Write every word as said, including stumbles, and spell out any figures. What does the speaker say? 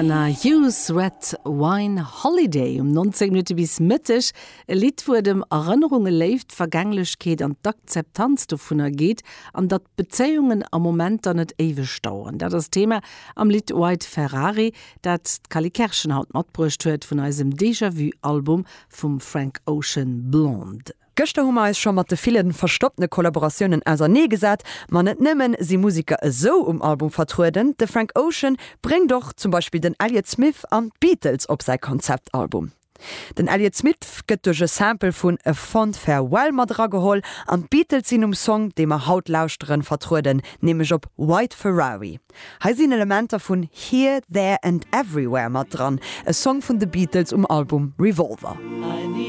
Santana Hughes Red Wine Holiday um neunzéng Minutte bis Mëtteg e Lidd wou et ëm Erënnerunge, Léift, Vergänglechkeet an d'Akzeptanz dovunner geet an datt Bezéiungen a Momenter net éiweg daueren. Dat ass Thema am Lidd White Ferrari, dat d'Cally Kerschen haut matbruecht huet vun eisem Déjà-vu Album vum Frank Ocean Blonde. Gëschter hu mer eis scho mat de ville verstoppte Kollaboratiounen auserneegesat, ma net nëmmen si Museker esou um Album vertrueden, de Frank Ocean bréngt och zum Beispill den Elliott Smith an d'Beatles op säi Konzeptalbum. Den Elliott Smith gëtt duerch e Sample vun A Fond Farewell mat erageholl an d'Beatles sinn um Song, dee mer haut lauschteren, vertrueden, nämlech op White Ferrari. Hei sinn Elementer vun Here, There and Everywhere mat dran, e Song vun de Beatles um Album Revolver.